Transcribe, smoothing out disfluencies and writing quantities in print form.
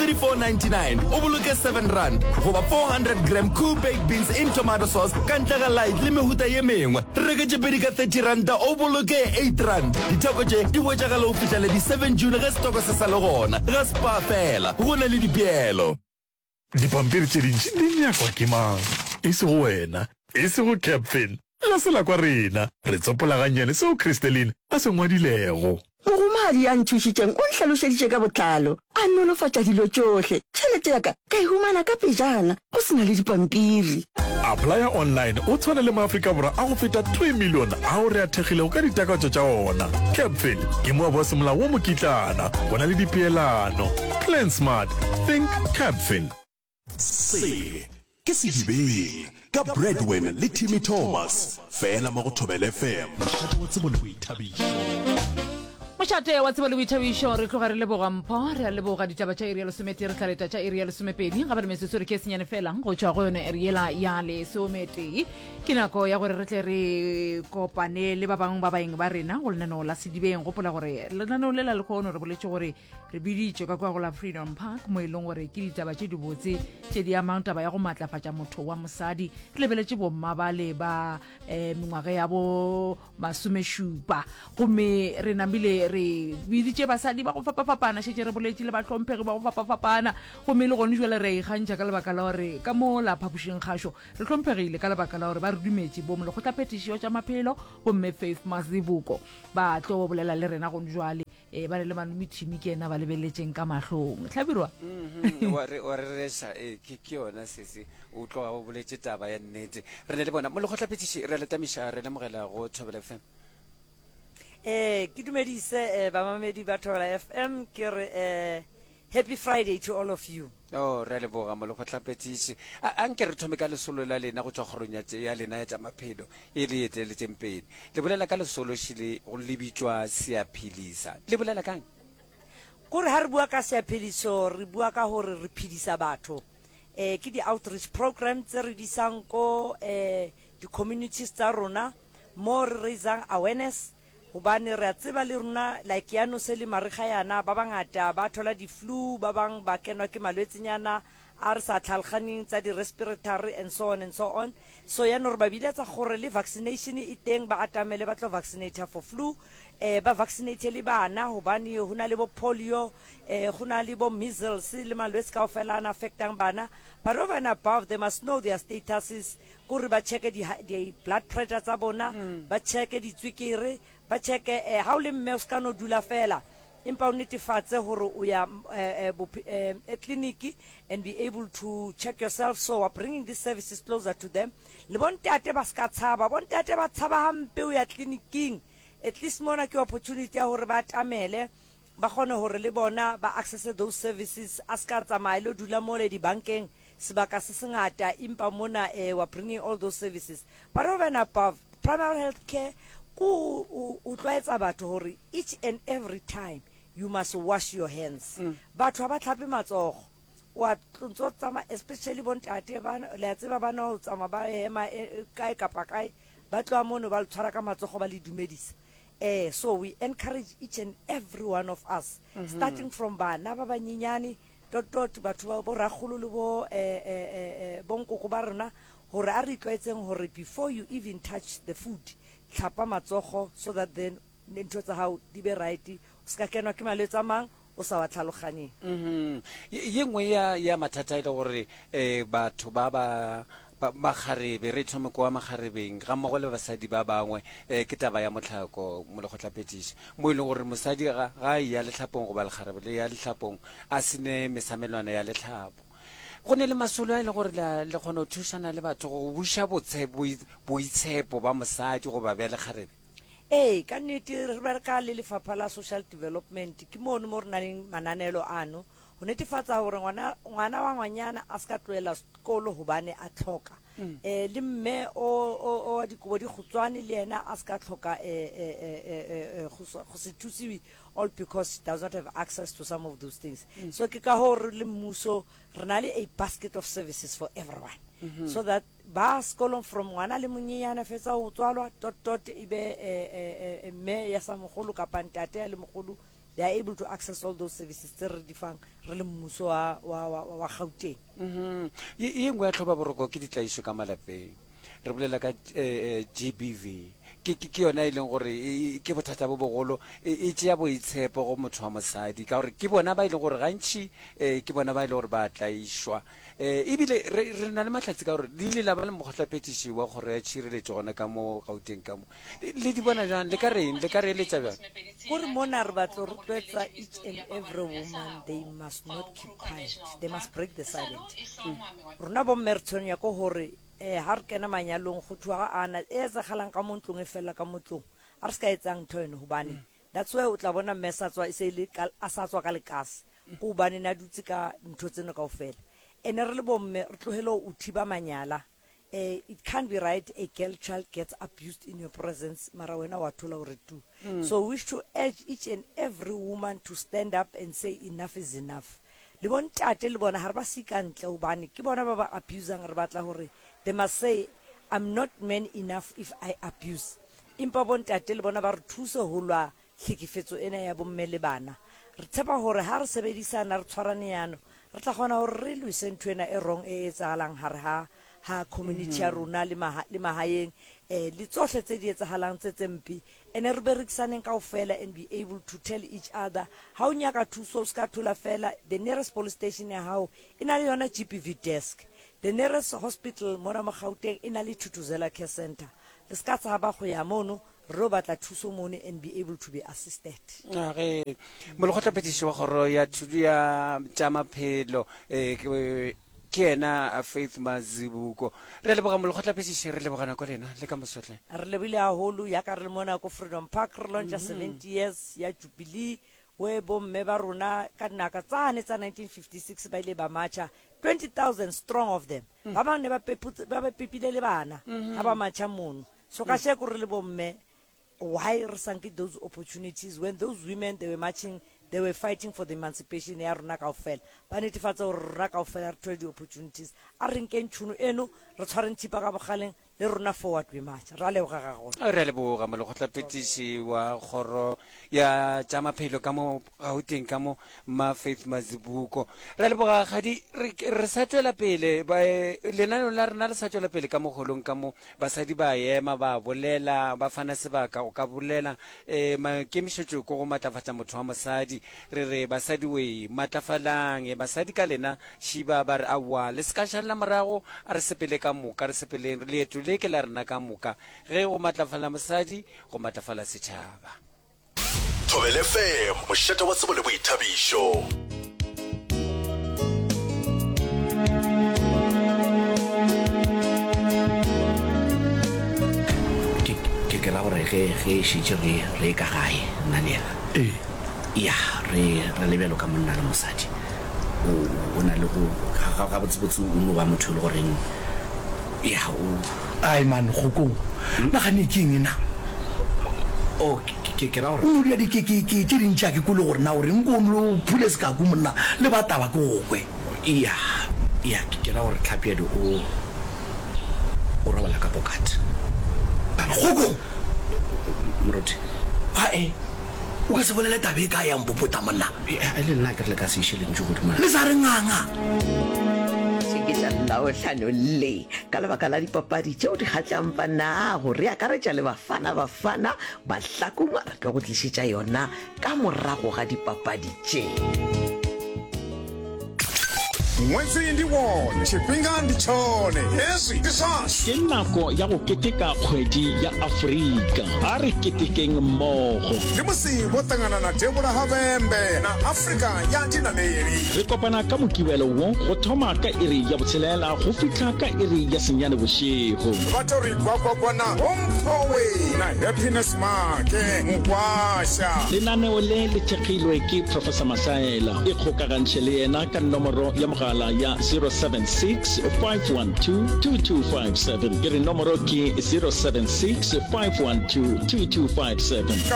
34.99 o boloke R7 goba 400 gram Koo Baked Beans in Tomato Sauce ka ntle ga light le mehuta ye mengwe. Reke tše pedi ka R30 o boloke R8. Ditheko tše di hwetšagala go fihla le di 7 June ge setoko se sa le gona. Ga Spar fela, go na le dipeelo. Dipampiri tše dintši di nyakwa ke mang? E sego wena, e sego Capfin. Ga se la kwa rena. Re tsopola gannyane seo Christeline a se ngwadilego. Mogomadi ya nthušitšeng o nhlalošeditše ka botlalo, a nolofatša dilo tšohle. Tšhelete ya ka ka e humana ka pejana, go se na le dipampiri. Applya online o tshwane le maAfrika Borwa a go feta 3 milione ao re a thekgilego ka ditakatšo tša ona. Capfin ke moabi wa semolao wa mokitlana. Go na le dipeelano. Plan smart. Think Capfin. Se ke Sedibeng ka Bradwin le Timmy Thomas, fela mo go Thobela FM. Mošate wa tsebo le boithabišo. Mošate wa tsebo le boithabišo, re tloga re leboga Mpho, re a leboga ditaba tša iri ya lesometee, re tla leta tša iri ya lesomepedi, ga ba re metsotso re ke senyane fela go tšwa go yone iri yela ya lesometee. Ke nako ya gore re tle re kopane le ba bangwe ba baeng ba rena go lenaneo la Sedibeng. Gopola gore lenaneo le la lekgono re boletše gore Re biditšwe ka kua go la Freedom Park mo e leng gore ke ditaba tše dibotse tše di amang taba ya go matlafatša motho wa mosadi. Re lebeletše bomma bale ba um mengwaga ya bo masomešupa gomme re namile re biditše basadi ba go fapafapana, šetše re boletše le bahlomphegi ba go fapafapana gomme le gone jwale re a ikgantšha ka lebaka la gore ka mo la phapošing kgašo re hlomphegile ka lebaka la gore ba re dumetše bo molekgotlaphethiši wa tša maphelo bomme Faith Mazibuko ba tlo bolela le rena gone jwale. Ee, ba re le malome Timmy ke yena ba lebeletšeng ka mahlong. Hlabirwa. Mhm, wa re wa rereša, ee, ke ke yona sesi. O tloga o boletše taba ya nnete. Re ne le bona mo lekgotlaphethiši, re a le tamiša, re lemogela go Thobela FM. Eh, ke dumedise eh, bamamedi ba Thobela FM ke re eh, Happy Friday to all of you. Oh, re a leboga molekgotlaphethiši. A, a nke re thome ka lesolo la lena go tšwa kgorong ya, ya lena ya tša maphelo e le eteletšeng pele. Le bolela ka lesolo šele go le bitšwa Seaphilisa. Le bolela ka'ng? Kore ha re bua ka Seaphiliso re bua ka gore re phedisa batho. Eh, ke di-outreach program tse re di isang ko eh, di-communities tsa rona mo re raisang awareness Gobane re a tseba le rona like yano se le marega yana ba bangata ba thola di flu ba bang ba kenwa ke malwetsenyana a re sa tlhalganeng tsa di respiratory and so on and so on. So yano re ba biletsa gore le vaccination e teng ba atamele ba tlo vaccinator for flu eh ba vaccinate le bana gobane go na le bo polio eh go na le bo measles le malwetse kaofela a na affectang bana but over and above they must know their statuses Kore ba checke di, di blood pressure tsa bona, ba checke ditswekere, ba checke eh, ha o le mme o ska no dula fela, empa o netefatse gore o ya eh, eh, eh, eh, clinic and be able to check yourself. So we're bringing these services closer to them. Le bontate ba ska tshaba, bontate ba tshaba hampe o ya clinicing. At least mona ke opportunity ya gore ba atamele ba kgone gore le bona ba access those services, a ska tsamaya lo dula mole dibankeng sebaka se sengata empa mona eh, we're bringing all those services but over and above primary health care ko o tlwaetsa batho gore each and every time you must wash your hands mm. batho ga ba tlhape matsogo wa ntse tsamaya especially bontate ba le a tseba ba no tsamaya ba ema e, e, kae kapa kae ba tloa mono ba le tshwara ka matsogo ba le dumedisa eh so we encourage each and every one of us mm -hmm. starting from bana ba banyenyane Dot dot batho ba bo rakgolo le bo eh, eh, eh, eh, bonkoko ba rena gore a re itlwaetseng gore before you even touch the food tlhapa matsogo so that then ntho tsa gago di be right o se ka kenwa ke malwetse a mang o sa wa tlhaloganyeng. Mhm. Ye nngwe ya ya mathata e le gore eh batho ba ba ba makgarebe re thome kwa makgarebeng ga mmogo le basadi ba bangwe eh ke taba ya mohlako molekgotlaphethiši mo e leng gore mosadi ga ga a eya lehlapong goba lekgarebe le ya lehlapong a se ne mesamelwana ya lehlapo. Go ne le masolo a e le gore le le kgona go thušana le batho go buša botshe boitshepo ba mosadi goba bja lekgarebe. Ee, ka nnete re bereka le lefapha la social development ke mono mo re na leng mananelo ano go netefatsa gore ngwana ngwana wa ngwanyana a se ka tlohela sekolo gobane a tlhoka um le mme o o wa dikobo di kgutswane le yena a se ka tlhoka um go se thusiwe all because she does not have access to some of those things mm. so ke ka go re le mmuso re na le a basket of services for everyone mm -hmm. so that ba sekolong from ngwana le monyenyane fetsa go tswalwa tot tot e be mme ya sa mogolo kapa ntate ya le mogolo. They are able to access all those services tse re di fang re le mmuso wa, wa, wa, wa Gauteng. Mhm. Ye ye nngwe ya tlhobaboroko ke ditlaišo ka malapeng. Re bolela ka eh, eh, GBV. Ke, ke, ke yona e leng gore e, e, ke bothata bo bogolo, e, e tšea boitshepo go motho wa mosadi ka gore ke bona ba e leng gore gantši eh, ke bona ba e leng gore ba tlaišwa. Eh, ebile re, re na le mahlatse ka gore le ile la ba le mokgotlaphethiši wa kgoro ya tšhireletšo gona ka mo Gauteng ka mo. Le di bona bjang? Le ka reng? Le ka re eletša bjang? Kore mona re batlo rotloetsa each and every woman they must not keep quiet they must break the silent rona bomme re tshwenya ko gore um ha re kena manyalong go thuwa ga ana e etsagalang ka mo ntlong e felela ka mo tlong a re se ka etsang ntho eno gobane that's why o tla bona mme sa tswa e se le a sa tswa ka lekase ko gobane ne a dutse ka ntho tseno kao fela ene re le bomme re tlogele o thiba manyala Eh, it can't be right a girl child gets abused in your presence mara wena wa thola gore tu mm. so we wish to urge each and every woman to stand up and say enough is enough le bontate le bona ga re ba see ka ntle gobane ke bona ba ba abusang re batla gore they must say i'm not man enough if i abuse empa bontate le bona ba re thuse go lwa tlhekefetso ena ya bomme le bana re tshepa gore ga re sebedisana re tshwarane yano Re tla kgona gore re lwise ntho ena e wrong e etsagalang gare ga ga community ya rona le maha, le magaeng eh, le tsohle tse di etsagalang tse tse mpe. Ene re berekisaneng kaofela and be able to tell each other ha o nyaka thuso o ska thola fela the nearest police station ya gago e na le yona GBV desk. The nearest hospital mona mo Gauteng e na le Thuthuzela Care Centre. Le ska tshaba go ya mono Re lo batla thuso mono and be able to be assisted. A ge molekgotlaphethiši wa kgoro ya thuto ya tša maphelo eh, ke ke yena Faith Mazibuko. Re a leboga molekgotlaphethiši, re leboga nako lena le ka mosotle. Re lebile haholo yaka re le mona ko Freedom Park re launcha 70 years ya Jubilee we bomme ba rona ka dinaka tsane tsa 1956 ba ile ba marcha 20,000 strong of them. Ba bang ne ba peputse ba ba pepile le bana ha ba marcha mono. So kasheko re le bomme why re sa nke those opportunities when those women they were marching they were fighting for the emancipation ya rona kaofela ba netefatsa gore rona kaofela re thole di-opportunities a re nkeng tšhono eno re tshwareng thipa ka bogaleng le rona forward we march ra leboga ga gona Re a leboga molekgotlaphethiši wa kgoro ya tša maphelo ka mo Gauteng ka mo Mma Faith Mazibuko. Re a leboga kgadi re, re sa tšwela pele ba, lenaneo la rena le sa tšwela pele ka mo holong ka mo Basadi ba ema, ba bolela, ba fana sebaka go ka bolela. E, maikemišetšo ke go matlafatša motho wa mosadi. Re re, Basadi wee, matlafalang. E, basadi ka lena, šiba, ba re, Aowa, le se ka šalela morago, a re sepele ka moka, re sepeleng, leeto le ke la rena ka moka. Ge go matlafala mosadi, go matlafala setšhaba. Thobela FM, mošate wa tsebo le boithabišo. Ke, ke, ke ra gore ge, ge e šetše re, re ka gae, nna le yena. Ee. Ya, re, re le bjalo ka monna le mosadi. O, o na le go, ga, ga, gabotsebotse o no ba motho e le goreng, ya, o. Ai man, Kgokong, nagane ke eng na? Oh, ke, ke ra gore. O no dira dikekeke tše dintši a ke kwele gore na o reng ko o no phule sekaku monna le ba taba ke go kwe. Ya, ya, ke ra gore Tlhapjadi o, o robala ka pokat. Kgokong! Moruti. Ae, o ka se bolele taba e ka ya mpopota monna. E le nna ke re le ka se iše lentšu godimo. Le sa re nganga. Tše ke tša Labohlano le ka lebaka la dipapadi tšeo di kgahlang banago re akaretša le Bafana Bafana Bahlakong re tlo go tlišetša yona ka morago ga dipapadi tše. Ṅwedzi ndi wone, tshifhinga ndi tshone, hezwi ndi zwashu. Ke nako ya go keteka Kgwedi ya Afrika. A re ketekeng mmogo. Ndi musi vho ṱangana na devhula ha Vhembe na Afrika ya Dinaleli. Re kopana ka Mokibelo wo go thoma ka iri ya botshelela go fihla ka iri ya senyane bošego. Vha tou ri gwagwagwa na Vho Mphowe na Happiness Maake Mukwasha. Lenaneo le le thekgilwe ke Professor Masaela. Ikgokagantšhe le yena ka nomoro ya mogala ya 076 512 2257. Ke re nomoro ke 076 512 2257.